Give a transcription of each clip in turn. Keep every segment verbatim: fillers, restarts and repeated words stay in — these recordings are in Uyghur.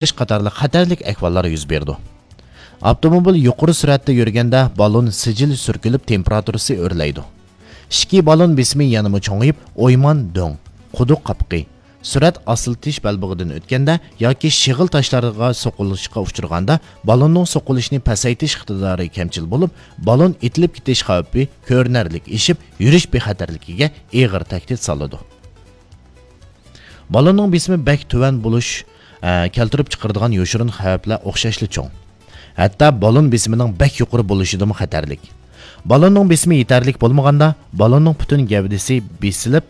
قېتىش قاتارلىق خەتەرلىك ئەھۋاللار يۈز بېرىدۇ. ئاپتوموبىل يۇقىرى سۈرئەتتە يۈرگەندە بالون سىجىل سۈركىلىپ، تېمپېراتۇرىسى ئۆرلەيدۇ. ئىچكى بالون بېسىمى يەنىمۇ چوڭىيىپ، ئويمان دۆڭ، قۇدۇق قاپىقى، سۈرئەت ئاستىلىتىش بەلبېغىدىن ئۆتكەندە ياكى شېغىل تاشلارغا سوقۇلۇشقا ئۇچرىغاندا، بالوننىڭ سوقۇلۇشىنى پەسەيتىش ئىقتىدارى كەمچىل بولۇپ، بالون ئېتىلىپ كېتىش خەۋپى كۆرۈنەرلىك ئېشىپ، يۈرۈش بىخەتەرلىكىگە ئېغىر تەھدىت سالىدۇ. بالوننىڭ بېسىمى بەك تۆۋەن بولۇش، ئە، كەلتۈرۈپ چىقىرىدىغان يوشۇرۇن خەۋپلەر ئوخشاشلا چوڭ. ھەتتا بالون بېسىمىنىڭ بەك يۇقىرى بولۇشىدىمۇ خەتەرلىك. بالوننىڭ بېسىمى يېتەرلىك بولمىغاندا، بالوننىڭ پۈتۈن گەۋدىسى بېسىلىپ،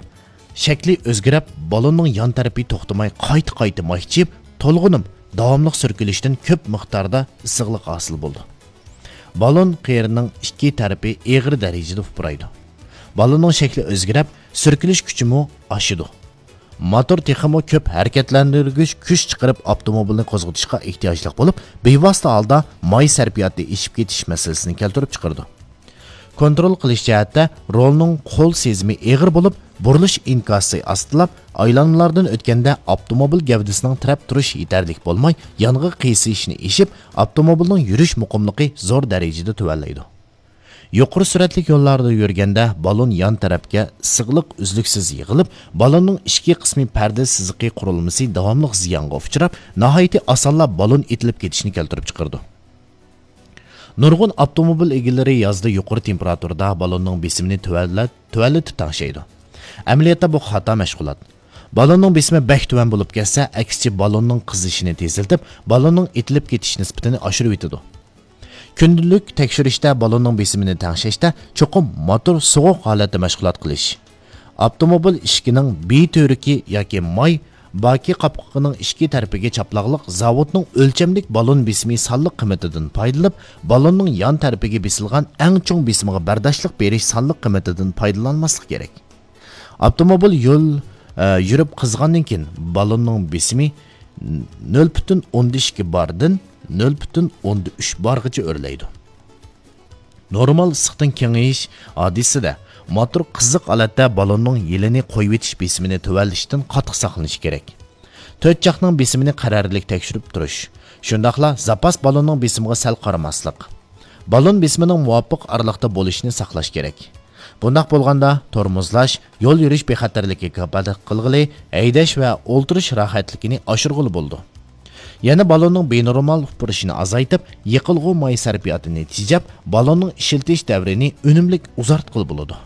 شەكلى ئۆزگىرىپ، بالوننىڭ يان تەرىپى توختىماي قايتا-قايتا مايچىيىپ، تولغىنىپ، داۋاملىق سۈركىلىشتىن كۆپ مىقداردا ئىسسىقلىق ھاسىل بولىدۇ. بالون قېرىنىڭ ئىككى تەرىپى ئېغىر دەرىجىدە ئۇپرايدۇ. بالوننىڭ شەكلى ئۆزگىرىپ، سۈركىلىش كۈچىمۇ ئاشىدۇ. موتور تېخىمۇ كۆپ ھەرىكەتلەندۈرگۈچ كۈچ چىقىرىپ، ئاپتوموبىلنى قوزغىتىشقا ئېھتىياجلىق بولۇپ، بىۋاسىتە ھالدا ماي سەرپىياتى ئېشىپ كېتىش مەسىلىسىنى كەلتۈرۈپ چىقىرىدۇ. كونترول قىلىش جەھەتتە رولنىڭ قول سېزىمى ئېغىر بولۇپ، بۇرۇلۇش ئىنكاسى ئاستىلاپ، ئايلانمىلاردىن ئۆتكەندە ئاپتوموبىل گەۋدىسىنىڭ تىرەپ تۇرۇش يېتەرلىك بولماي، يانغا قىيسىشنى ئېشىپ، ئاپتوموبىلنىڭ يۈرۈش مۇقىملىقى زور دەرىجىدە تۆۋەنلەيدۇ. يۇقىرى سۈرئەتلىك يوللاردا يۈرگەندە بالون يان تەرەپكە ئىسسىقلىق ئۈزلۈكسىز يىغىلىپ، بالوننىڭ ئىچكى قىسمى پەردە سىزىقى قۇرۇلمىسى داۋاملىق زىيانغا ئۇچراپ، ناھايىتى ئاسانلا بالون ئېتىلىپ كېتىشنى كەلتۈرۈپ چىقىرىدۇ. نۇرغۇن ئاپتوموبىل ئىگىلىرى يازدا يۇقىرى تېمپېراتۇرىدا بالوننىڭ بېسىمىنى تۆۋەنلە-، تۆۋەنلىتىپ تەڭشەيدۇ. ئەمەلىيەتتە بۇ خاتا مەشغۇلات. بالوننىڭ بېسىمى بەك تۆۋەن بولۇپ كەتسە، ئەكسىچە بالوننىڭ قىزىشىنى تېزلىتىپ، بالوننىڭ ئېتىلىپ كېتىش نىسبىتىنى ئاشۇرۇۋېتىدۇ. كۈندىلىك تەكشۈرۈشتە بالوننىڭ بېسىمىنى تەڭشەشتە چوقۇم موتور سوغۇق ھالەتتە مەشغۇلات قىلىش. ئاپتوموبىل ئىشىكىنىڭ بىي تۈۋرۈكى ياكى ماي باكى قاپىقىنىڭ ئىچكى تەرىپىگە چاپلاقلىق زاۋۇتنىڭ ئۆلچەملىك بالون بېسىمى سانلىق قىممىتىدىن پايدىلىنىپ، بالوننىڭ يان تەرىپىگە بېسىلغان ئەڭ چوڭ بېسىمغا بەرداشلىق بېرىش سانلىق قىممىتىدىن پايدىلانماسلىق كېرەك. ئاپتوموبىل يول، ئە، يۈرۈپ قىزغاندىن كېيىن بالوننىڭ بېسىمى نۆل پۈتۈن ئوندىن ئىككى باردىن نۆل پۈتۈن ئوندىن ئۈچ بارغىچە ئۆرلەيدۇ. نورمال ئىسسىقتىن كېڭىيىش ھادىسىسىدە موتور قىزىق ھالەتتە بالوننىڭ يېلىنى قويۇۋېتىش بېسىمىنى تۆۋەنلىتىشتىن قاتتىق ساقلىنىش كېرەك. تۆت چاقنىڭ بېسىمىنى قەرەللىك تەكشۈرۈپ تۇرۇش، شۇنداقلا زاپاس بالوننىڭ بېسىمىغا سەل قارىماسلىق. بالون بېسىمىنىڭ مۇۋاپىق ئارىلىقتا بولۇشىنى ساقلاش كېرەك. بۇنداق بولغاندا، تورمۇزلاش، يول يۈرۈش بىخەتەرلىكىگە كاپالەتلىك قىلغىلى، ھەيدەش ۋە ئولتۇرۇش راھەتلىكىنى ئاشۇرغىلى بولىدۇ. يەنە بالوننىڭ بىنورمال ئۇپرىشىنى ئازايتىپ، يېقىلغۇ ماي سەرپىياتىنى تېجەپ، بالوننىڭ ئىشلىتىش دەۋرىنى ئۈنۈملۈك ئۇزارتقىلى بولىدۇ.